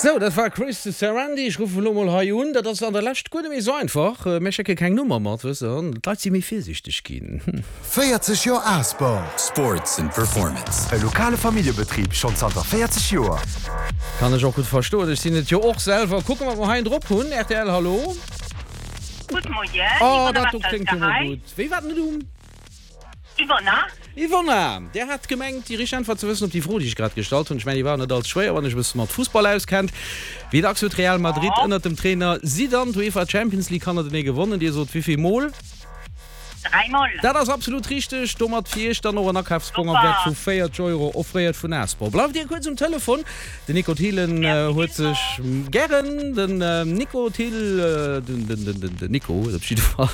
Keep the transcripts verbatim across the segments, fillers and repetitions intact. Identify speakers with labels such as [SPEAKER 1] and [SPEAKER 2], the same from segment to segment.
[SPEAKER 1] Sou, dat war Chris Sarandie. Ech ruffen elo mol hei un. Dat ass an der Lescht guer net méi esou einfach. Mir schécke keng Nummer mat, wësst Der. D'Leit si méi virsiichteg ginn.
[SPEAKER 2] véierzeg Joer Asport.
[SPEAKER 3] Sports and Performance.
[SPEAKER 2] E lokale Familljebetrib schonn zanter véierzeg Joer.
[SPEAKER 1] Kann ech och gutt verstoen. Ech sinn et jo och selwer. Kucke wat mer hei drop hunn. R T L, hallo?
[SPEAKER 4] Gutt Moien,
[SPEAKER 1] Oh,
[SPEAKER 4] Yvonne
[SPEAKER 1] dat do kléngt jo mol
[SPEAKER 4] Wassels.
[SPEAKER 1] gutt. Wéi war den Numm?
[SPEAKER 4] Yvonne.
[SPEAKER 1] Yvonne, Dir hat gemengt, déi richteg Äntwert ze wëssen op déi Fro, déi ech grad gestallt hunn. Ech mengen, déi war net allze schwéier, wann ee sech e bësse mat Fussball auskennt. Wéi dacks huet Real Madrid ënnert dem Trainer Zidane d'UEFA Champions League hannertenee gewonnen? Dir sot wéi vill Mol?
[SPEAKER 4] Dräi Mol.
[SPEAKER 1] Dat ass absolut richteg. Domat fir Iech dann och en Akafsbong am
[SPEAKER 4] Super.
[SPEAKER 1] Wäert vu véierzeg Euro, offréiert vun Asport. Bleift Dir kuerz um Telefon. Den Nico Thielen huet sech gären, den Nico Thill, den, den, den, den, den Nico huet op jidde Fall,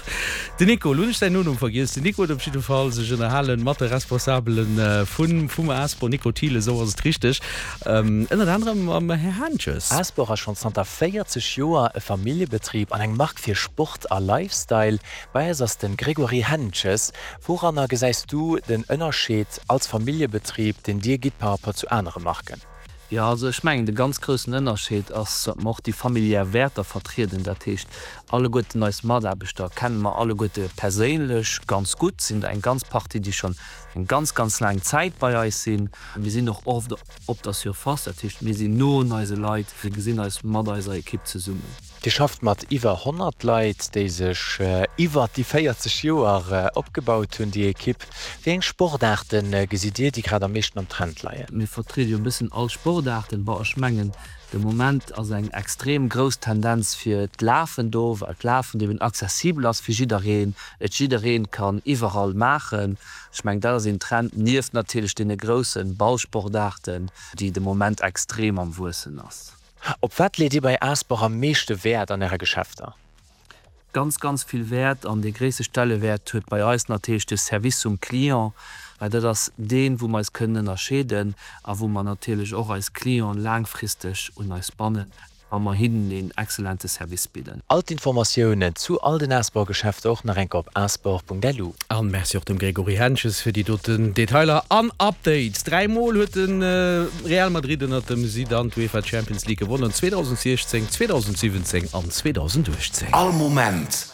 [SPEAKER 1] den Nico, elo hunn ech säin Nonumm vergiess, den Nico huet op jidde Fall sech ënnerhalen mat de Responsabele vun, vum Asport, Nico Thiel, esou ass et richteg, ënnert anerem mam Här Haentjes.
[SPEAKER 5] Asport ass schonn zanter véierzeg Joer e Familljebetrib an eng Mark fir Sport a Lifestyle. Bei eis ass de Grégory Hentges. Wouranner gesäis du den Ënnerscheed als Familljebetrib, deen Dir gitt par rapport zu anere Marken?
[SPEAKER 6] Jo, also ech mengen de ganz groussen Ënnerscheed ass, datt mer och déi familiär Wäerter vertrieden. Dat heescht, alleguerten eis Mataarbechter kenne mer alleguerte perséinlech ganz gutt, sinn der eng ganz Partie, déi schonn eng ganz, ganz laang Zäit bei eis sinn. Mir sinn och oft op der Surface, dat heescht, mir sinn no un eise Leit, mir gesinn eis mat eiser Ekipp zesummen.
[SPEAKER 5] Dir schafft mat iwwer honnert Leit, déi sech iwwert déi véierzeg Joer opgebaut hunn, déi Ekipp. Wéi eng Sportaarte gesitt Dir, déi grad am meeschten am Trend leien?
[SPEAKER 6] Mir vertriede jo e bëssen all Sportaarten. Bon, ech mengen, de Moment ass eng extrem grouss Tendenz fir d'Lafen do, well d'Lafen eben accessibel ass fir jiddereen, et jiddereen kann iwwerall maachen. Ech mengen, dat ass een Trend, nieft natierlech deene grousse Ballsportaarten, déi de Moment extrem am Wuessen ass.
[SPEAKER 5] Op wat leet Dir bei Asport am meeschte Wäert an Äre Geschäfter?
[SPEAKER 6] Ganz, ganz vill Wäert an dee gréisste Stellewäert huet bei eis natierlech de Service zum Client, well dat ass deen, wou mer eis kënnen ënnerscheeden a wou mer natierlech och eis Clienten laangfristeg un eis bannen, wa mer hinnen een excellente Service bidden.
[SPEAKER 5] All d'Informatiounen zu all den Asport-Geschäfter och nach eng Kéier op asport Punkt L U.
[SPEAKER 1] An Merci och dem Grégory Hentges fir déi doten Detailer an Updates. Dräi Mol huet de Real Madrid ënnert dem Zidane d'UEFA Champions League gewonnen, zweedausendsechzéng, zweedausensiwwenzéng an zweedausenduechtzéng.
[SPEAKER 3] All Moment.